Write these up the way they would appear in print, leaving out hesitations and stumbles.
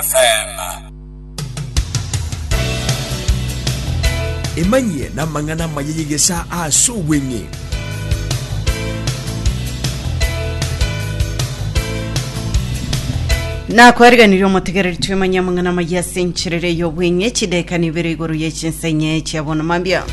FM. Emanyie namang'ana amaya y'egesaa ase obweng'e. Nakwariganirie omotegereri twemanye amang'ana amaya ase encherere y'obweng'e chidaeka nibere igoro ye chinsenye chia bono mambia.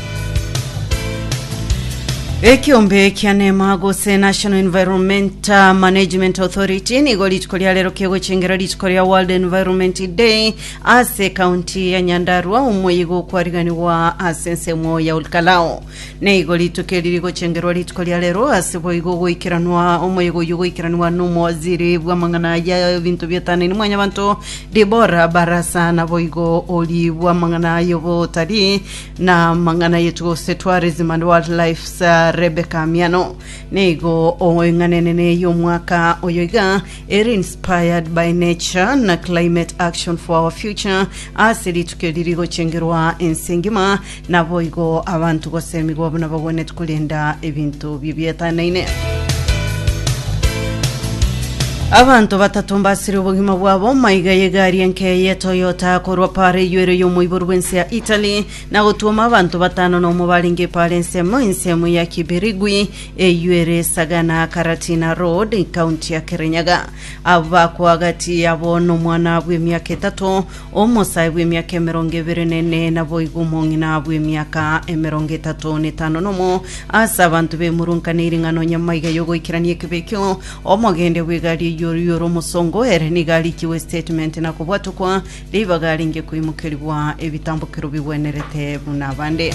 Ekiombe kia NEMA gose National Environment Management Authority nigo rituko ria rero kegochengera rituko ria World Environment Day ase ekaunti ya Nyandarua omoyigo okwariganigwa ase ensemo ya Olkalou. Nigo rituko eri rigochengerwa rituko ria rero ase boigo goikeranwa omoyega oyio goikeranwa nomowaziri bw'amang'ana ya ebinto bietanaine mwanyabanto Debora Barasa naboigo ori bw'amang'ana y'obotari na amang'ana yetu gose tourism and wildlife Sir Rebecca Miano. Nigo eng'ana enene y'omwaka oyo iga ere inspired by nature na climate action for our future ase rituko eri rigochengerwa ense engima Naboigo abanto gosemigwa buna bagwenerete korenda ebinto bibietanaine. Abanto batato mbasire obogima bwabo maiga y'egari enke ye Toyota korwa para eywo ere y'omoiboru bw'ense ya Italy na gotwoma abanto batano nomo barenge para ensemo ensemo ya Kibirigwi eywo ere Sagana Karatina Road county ya Kirinyaga. Abo bakwa gati yabo nomwana bw'emiaka etato Omosae bw'emiaka emerongo ebere nene, naboigo omong'ina bw'emiaka emerongo etato netano nomo, ase abanto bemurunkaneire ng'a nonya maiga y'ogoikerania ekebe ekio, omogendia bw'egari eyio oyio ore omosongo, ere nigo arikiwe statement na kobwatokwa, ribaga arenge koimokerigwa ebitambokero bigwenerete buna abande.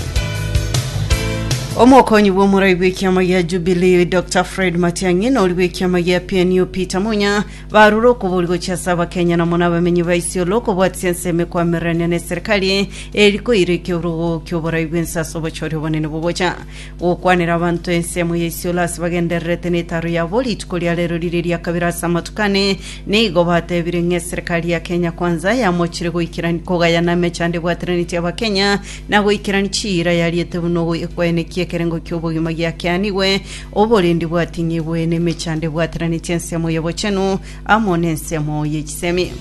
Omokonyi bw'omorai bw'ekiama gia Jubilee Dr. Fred Matiang'i na ori bw'ekiama gia PNU Peter Munya Barure okobori gochia ase Abakenya na mono abamenyi ba Isiolo okobwatisia ensemo ekoamererania neserikali eri koira ekeorogo kioborai bwense ase obochori obonene bogocha gokwanera abanto ensemo ya Isiolo ase bagendererete netaro yabo rituko ria rero rire ria kabere ase amatuko ane nigo batebire ng'a eserikali ya Kenya Kwanza yamochire goikerani kogayana emechando ebwateranetie Abakenya na goikerani chiira yariete buna ekoenekia ekerengo kiobogima giakeanigwe Oborendi bwating'igwe nemechando ebwateranetie ensemo y'obochenu amo nensemo ye chisemi.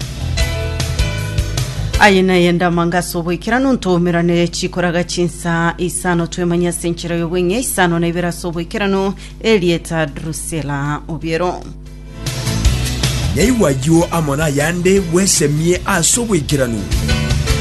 Aye naye ndamanga ase oboikeranu ntoumerane chikoraga chinsa isano twemanye ase enchera y'obweng'e isano na ibere ase oboikeranu erieta Drusilla Obiero. Nyaigwa ayio amo nayande bwesemie ase oboikeranu.